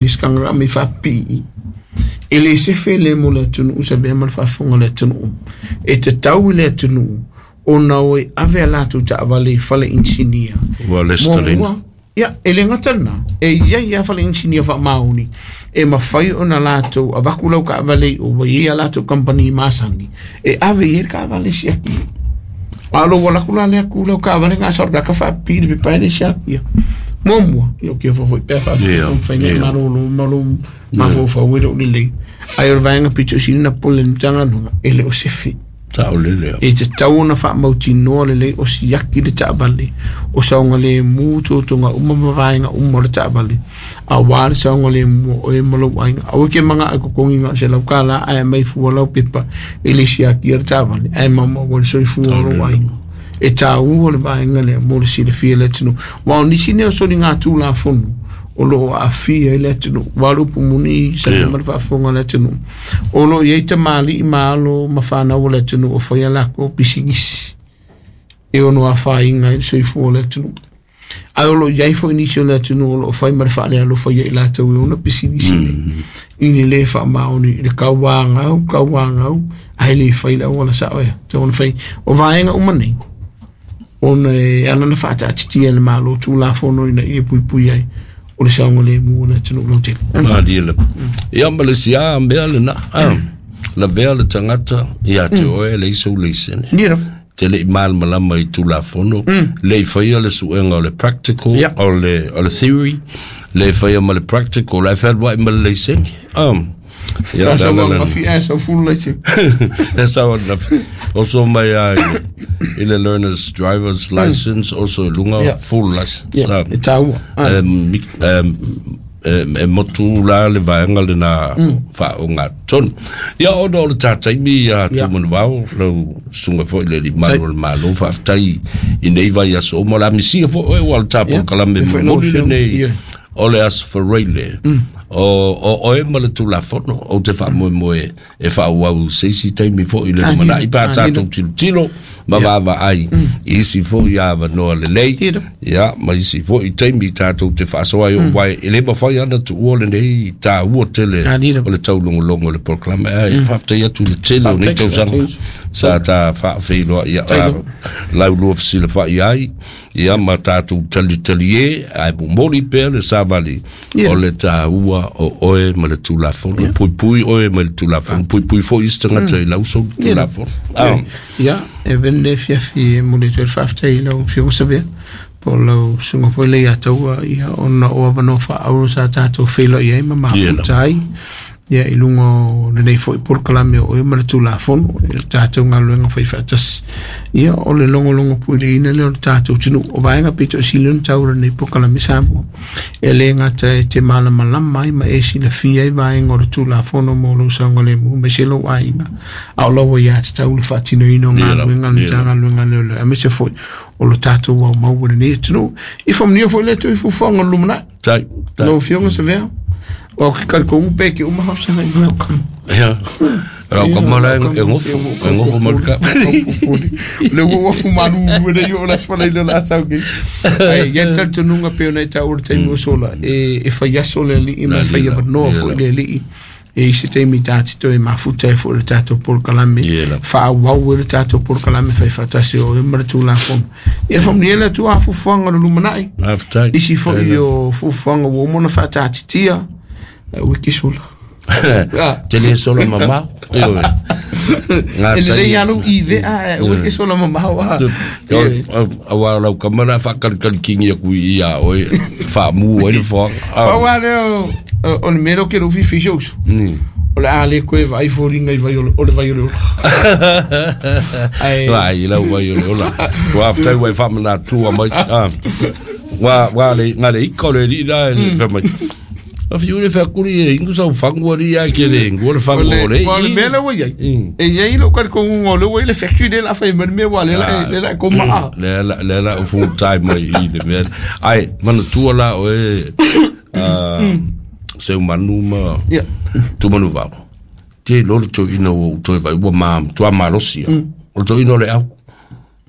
Iskanga me faapipii e le sefe le mo le atunuu sa mea ma le faafofoga le atunuu e tatau i le atunuu ona o e ave a latou taavale i fale inisinia. Ua lesitalaina. Muamua, ia, e le gata lena, e i ai lava fale inisinia faamaoni e mafai ona latou avatu lau taavale i o, ua i ai a latou kamupani masani e ave i ai le taavale e siaki. A o lou alu atu la lea tu lau taavale na sa o le tagata faapipii i le pepa e le siakia. Muamua, ia o kia foi pea faafetai mafai nei malolo ma lou mafaufau e le o lelei. Ae o le vaega pito sili na pule le Matagaluega e le o sefe. Saolele. E tatau ona faamautinoa lelei o siaki le taavale, o saogalemu totoga uma ma vaega uma o le taavale, aua le saogalemu o oe ma lou aiga. Aua e te manao e totogi na o le $100 ae aumai fua lau pepa e le siakia le taavale, ae maumau ai le soifua o lou aiga. E taua le vaega lea mo le silafia e le atunuu. Aua o nisi nei o soligatulafono o lo o aafia ai le atunuu. Aua o le upu moni sa ma le faafofoga a le atunuu, o lo o i ai tamalii ma alo ma fanau o le atunuu o fai a latou pisinisi e ono afaina ai le soifua o le atunuu. Ae o lo o i ai foi nisi o le atunuu o lo o fai ma le faalealofa ia i latou e ona pisinisi nei, i le le faamaoni i le tauagau, tauagau, ae le fai le auala sao e tatau ona fai. O vaega uma nei, ona e ala ona faataatitia e le Malo Tulafono ina ia puipui ai o le saogalemu o le atunuu lautele. Malie lava. Ia ma le isi lava mea lena, lavea le tagata ia te oe e leai sou laisene. Ia lava. Te le i malamalama i Tulafono, le i faia le suega o le practical, o le theory, le i faia ma le practical, ae fealuai ma le laisene. Ia, Sa sau ananafi ae sau full laisene. Le sau ananafi. Oso mai lava i le learner's driver's license, oso i luga, full license. Ia, e taua. E motu la le vaega lena faaogatotonu. Ia, ona o le ta taimi ia Tumanuvao, lau susuga foi le alii malu o le Malo, faafetai i nei vaiaso uma, o le a misia foi oe, ua o le ta polokalame momoli lenei o le Aso Faraile, o oe ma le Tulafono, ou te faamoemoe e faaauau i se isi taimi foi i le lumanai pe a tatou tilotilo ma vaavaai i isi foi avanoa lelei, ia, ma isi foi taimi tatou te faasoa ai, aua e le mafai ona tuua lenei taua tele o le taulogologo o le polokalame. Ae faafetai atu i le tele o nei tausaga sa ta faafeiloai laulua fesilafai ai, ia, ma tatou talitalie, ae momoli pea le savali o le taua o oe ma le Tulafono. Puipui oe ma le Tulafono, puipui foi isi tagata i lau sou Tulafono. Ia, e vene le fiafi e momoli atu ai le faafetai i lau Afioga Savea, po o lau susuga foi le Leiataua, ia, ona o avanoa faaauro sa tatou feiloai ai ma mafuta ai, ia, i luga o lenei foi polokalame o oe ma le Tulafono, i le tatou galuega fai faatasi. Ia, o le logologo puileina lea o le tatou atunuu. O vaega pito sili ona taua o lenei polokalame Samoa, e le gata e te malamalama ai ma e silafia ai vaega o le Tulafono mo lou saogalemu aemaise lou aiga, a o lau aiatatau le faatinoina o galuega a le Matagaluega a Leoleo, aemaise foi o lo tatou aumau o lenei atunuu. Ia faamanuia foi le Atua i fuafuaga o le lumanai. Tai, tai. Lau Afioga Savea, o ke talitonu pe ke uma faafesagai ma lau kama. Ia. Lau kama la e gofo, e gofo ma le ka. Le ua ua fumalu e le o la sfala i le la sau nei. Ai, ia le talitonuga pei ona e taua i le taimi ua sola, e fai aso le alii ma e fai avanoa foi le alii. E i se taimi ta te toe mafuta ai foi le tatou polokalame, faaauau ai le tatou polokalame fai faatasi o oe ma le Tulafono. Ia faamanuia le Atua i fuafuaga o le lumanai. Faafetai. Nisi foi o fuafuaga ua uma ona faataatitia, ua ke sola. Te le sola mamao. Ioe. Ngā E lelei lava lou ivea, ae aua e te sola mamao a. Aua o lau kama la faakalikali kingi aku i ia oe, faamu ai le foaga. Pau lava lea o le mea lea ou te le fifi i si ou uso. O le a le toe vaai foliga i vai o le vai o le ola. Ae Ai lau vai o le ola. Ua faafetai ua e faamanatua mai. Ua ua le nga le ika o le alii la e le fai mai. A fiu le feakuli e ingu sau fangu ali ia ke le ingu o le fangu o le O le mea lea ua i ai. E i ai lou talitonuga o lea ua i ai le factory lea o le a fai mai le mea ua lea la e koma a. Lea la full time mai i le mea. Ai, manatua la oe Seumanu ma Tumanuvao. Te iloa le toeaina ua ou toe vaai ua ma matua malosi lava. O le toeaina o le au.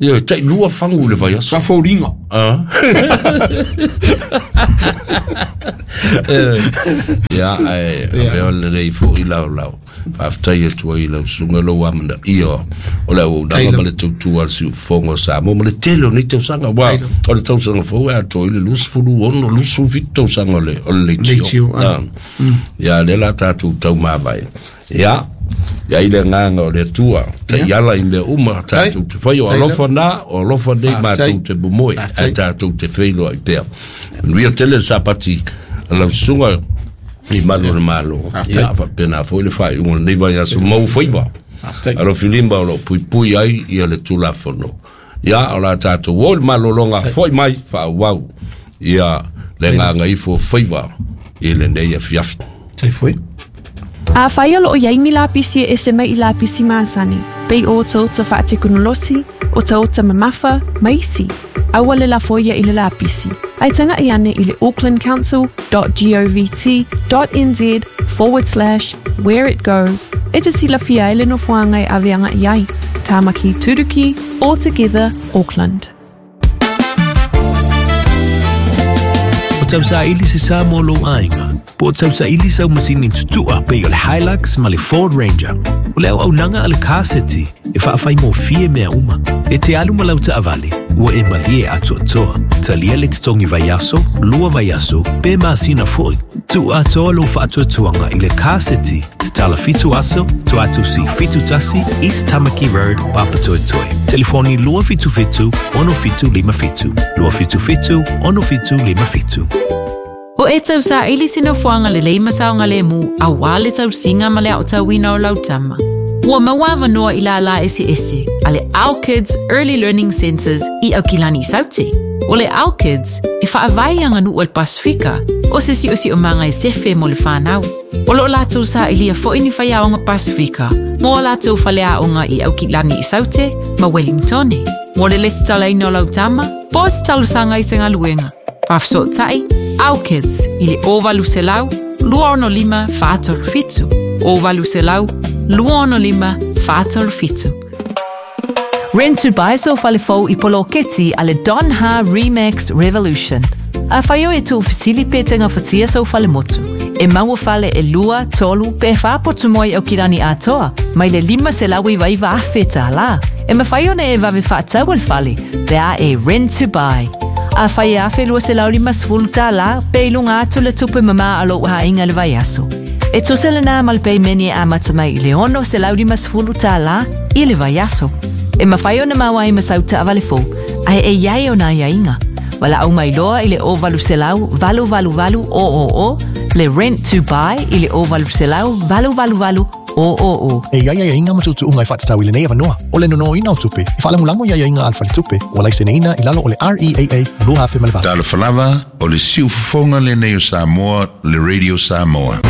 Ia, tai lua fagu i le vaiaso. Sa foliga. Ah. Ia, ae avea lelei foi lau faafetai atu ai i lau susuga lou amanaia o le auaunaga ma le tautua a le siufofoga o Samoa ma le tele o nei tausaga, aua o le tausaga fou e atoa ai le 26, 27 tausaga o le leitio. Ia, lea la tatou taumavae. Ia, i ai le agaga o le Atua, taiala i mea uma tatou te fai, o alofa na, o alofa nei matou te momoe, ae tatou te feiloai pea. Manuia tele le sapati a lau susuga i malu o le Malo. Ia, faapena foi le faaiuga o lenei vaiaso mau faiva. Alofilima o lo o puipui ai ia le Tulafono. Ia, o la tatou o i le malologa foi mai faaauau ia le agaga ifo o faiva i lenei afiafi. Tai foi. Afai o loo i ai ni lapisi e ese mai i lapisi masani, pei o otaota faatekonolosi, otaota mamafa, ma isi, aua le lafoia i le lapisi. Ae taga'i ane i le aucklandcouncil.govt.nz/where it goes e te silafia ai le nofoaga e ave aga'i ai. Tāmaki Turuki, All Together, Auckland. O tausaili se sa mo lou aiga, po o tausaili sau masini tutua pei o le Hilux ma le Ford Ranger. O le auaunaga a le Car City e faafaigofie mea uma. E te alu ma lau taavale, ua e malie atoatoa. Talia le totogi vaiaso, lua vaiaso, pe masina foi. Tuu atoa lou faatuatuaga i le Car City, tatala 7 aso, Tuatusi 71, East Tamaki Road, Papatoetoe. Telefoni 277 6757, 277 6757. O e tausaili se nofoaga lelei ma saogalemu auā le tausiga ma le aotauina o lau tama. Ua maua avanoa i lālā eseese a le Our Kids Early Learning Centres i Aukilani Saute. O le Our Kids e faavae i aganuu a le Pasifika o se si'osi'omaga e sefe mo le fanau. O loo latou sa'ilia fo'i ni faiaoga Pasifika mo a latou faleaoga i Aukilani i Saute ma Wellingtone. Mo le lesitalaina o lau tama, po o se talosaga i se galuega. Faafesootai, Our Kids i le 0800 265 437. 0800 265 437. Rent to buy sou fale fou i poloketi a le Don Ha Remax Revolution. Afai o e tuufesili pe te gafatia sou fale motu. E maua fale e lua, tolu, pe whā potu moi Aukilani atoa, mai le $509,000 tālā. E mawhai ona e vave whaatau al fale, pe a e rent to buy. Afai e $1,250 tālā, pe i lunga atu le tupe mama a lou hainga le vaiaso. E tusa le nā mal peimeni e amata mai i le $650 tālā i le vaiaso. E mawhai ona maua i masau taavale fou, ae e iai o nā iaiga. Wala au mai loa i le 0800 888 000, le rent to buy i le 0800 888 000. E iai aiaiga ma tuutuuga e faatatau i lenei avanoa, o le nonoina o tupe, e faalagolago i aiaiga a le faletupe, ua laiseneina i lalo o le REAA 2008. Talofa lava, o le siufofoga lenei o Samoa, le Radio Samoa.